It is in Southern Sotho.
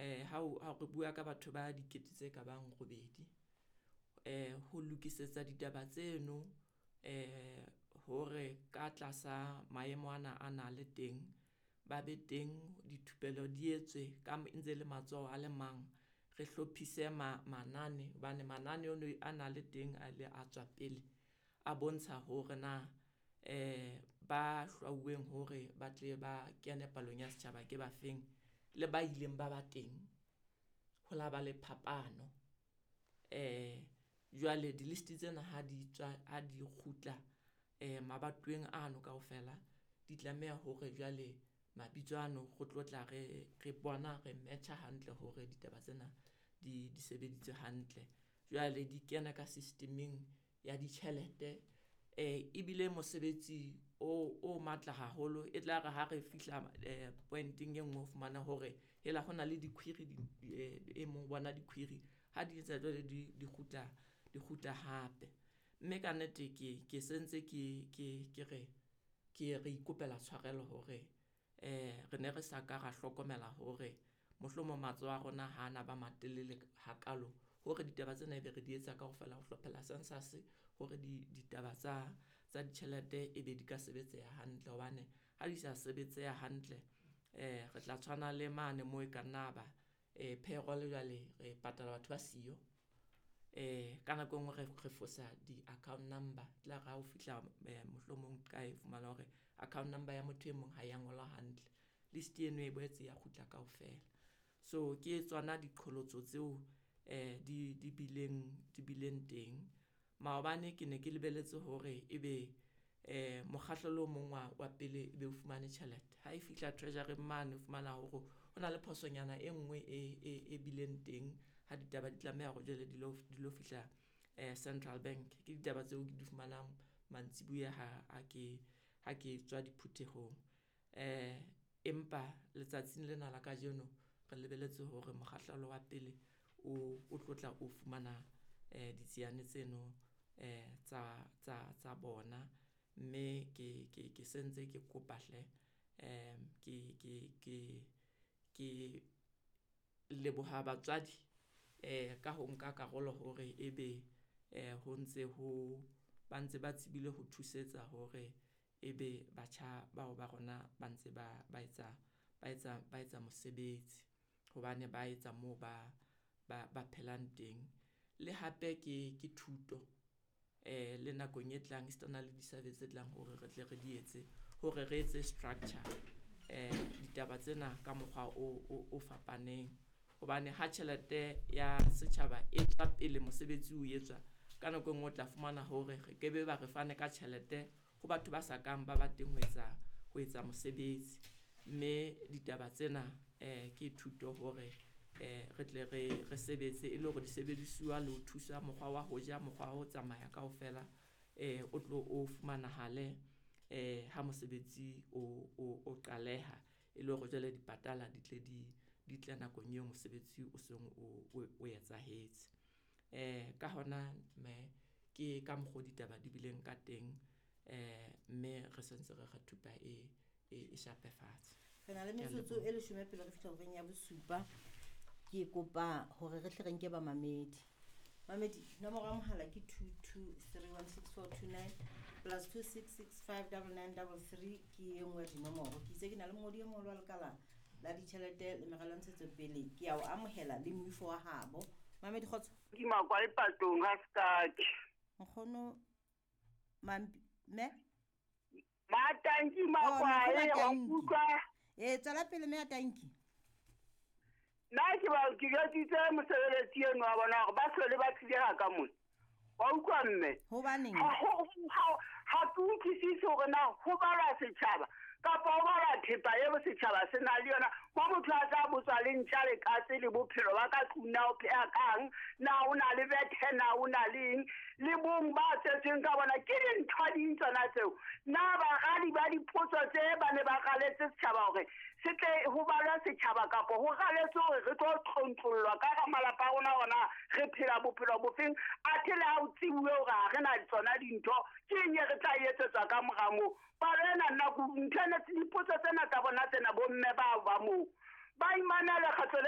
Ha re bua ka batho ba dikete tse ka bang 8, ho lokisetsa ditaba tseno hore ka tlasa maemo ana a na le teng, ba be teng dithupelo di etswe ka ntse le matsoho a le mang, re hlophise manane hobane manane ono a na le teng a ile a tswa pele a bontsha hore na ba hlwauweng hore ba tle ba kene palong ya setjhaba ke ba feng le ba ileng ba ba teng ho la ba le phapano. Jwale di-list tsena ha di tswa ha di kgutla mabatoweng ano kaofela, di tlameha hore jwale mabitso ano re tlo tla re bona re match-a hantle hore ditaba tsena di sebeditswe hantle. Jwale di kena ka system-eng ya ditjhelete, ebile mosebetsi o matla haholo. E tla re ha re fihla point-eng e nngwe o fumana hore hela hona le di-query e mong bona di-query ha di etsa jwale di kgutla hape. Mme ka nnete ke sentse ke re ke re ikopela tshwarelo hore re ne re sa ka ra hlokomela hore mohlomong matsoho a rona ha na ba matelele hakalo hore ditaba tsena ebe re di etsa kaofela ho hlophela census hore ditaba tsa ditjhelete ebe di ka sebetseha hantle hobane ha di sa sebetseha hantle, re tla tshwana le mane moo e ka nna ba payroll jwale re patala batho ba siyo. Ka nako e nngwe re fosa di-account number, tla re ha o fihla mohlomong kae fumana hore account number ya motho e mong ha ya ngolwa hantle, list eno e boetse ya kgutla kaofela. So ke tsona diqholotso tseo di bileng teng. Maobane ke ne ke lebelletse hore ebe mokgahlelo o mong wa pele ebe o fumane tjhelete. Ha e fihla treasury mane o fumana hore ho na le phosonyana e nngwe e bileng teng ha ditaba di tlameha hore jwale di lo fihla Central Bank. Ke ditaba tseo ke di fumanang mantsibuya ha ke tswa diphuthehong. Empa letsatsing lena la kajeno re lebelletse hore mokgahlelo wa pele o tlotla o fumana ditsiane tseno tsa bona, mme ke sentse ke kopa hle, ke leboha batswadi ka ho nka karolo hore ebe ho ntse ho ba ntse ba tsebile ho thusetsa hore ebe batjha bao ba rona ba ntse ba etsa mosebetsi hobane ba etsa moo ba phelang teng. Le hape ke thuto le nakong e tlang esitana le di-survey tse tlang hore re tle re di etse hore re etse structure ditaba tsena ka mokgwa o fapaneng hobane ha tjhelete ya setjhaba e tswa pele mosebetsi o etswa ka nako e nngwe o tla fumana hore re ke be ba re fane ka tjhelete ho batho ba sa kang ba ba teng ho etsa mosebetsi, mme ditaba tsena ke thuto hore re tle re sebetse e le hore disebedisuwa le ho thusa mokgwa wa ho ja, mokgwa wa ho tsamaya kaofela o tlo o fumanahale ha mosebetsi o qaleha e le hore jwale dipatala di tle di tle nakong eo mosebetsi o seng o etsahetse. Ka hona me ke ka mokgwa ditaba di bileng ka teng, mme re sentse re thupa e shape fatshe. Re na le metsotso e 10 pele re fihla horeng ya 7. Ke kopa hore re hle re nke ba mamedi. Mamedi, nomoro ya mohala ke 22316429 plus 26659933 ke e nngwe ya dinomoro. Ke itse ke na le mongodi e moholo wa lekala la ditjhelete le meralo ya ntshetsopele. Ke a o amohela le moifo wa habo. Mamedi, kgotso. Ke makwa lepatong ha sekake. Nkgono Mampi me? Matanki makwa e wa nkutlwa. Tswela pele me Tanki. Nna ke ba ke jwetsitse mosebeletsi eno wa bona hore ba hlole ba tlile ha ka mona. Wa utlwa mme? Hobaneng? Ha ke utlwisise hore na ho balwa setjhaba kapa ho balwa thepa eo setjhaba se nang le yona. Mo motho a tla botswa le ntja le katse le bophelo ba ka tlung, na o pheha kang, na o na le bethe, na o na le eng, le bong ba tsetsweng ka bona. Ke dintho ding tsona tseo. Na baradi ba dipotso tse ba ne ba raletse setjhaba hore se tle ho balwa setjhaba kapa ho raletse hore re tlo tlontlollwa ka hara malapa a rona hore na re phela bophelo bofeng, athe le ha o tsebuwe hore ha re na tsona dintho, ke eng e re tla etsetswa ka mora moo. Palo ena nna ntho ena dipotso tsena tsa bona tsena bomme bao ba moo ba imanela kgetlo le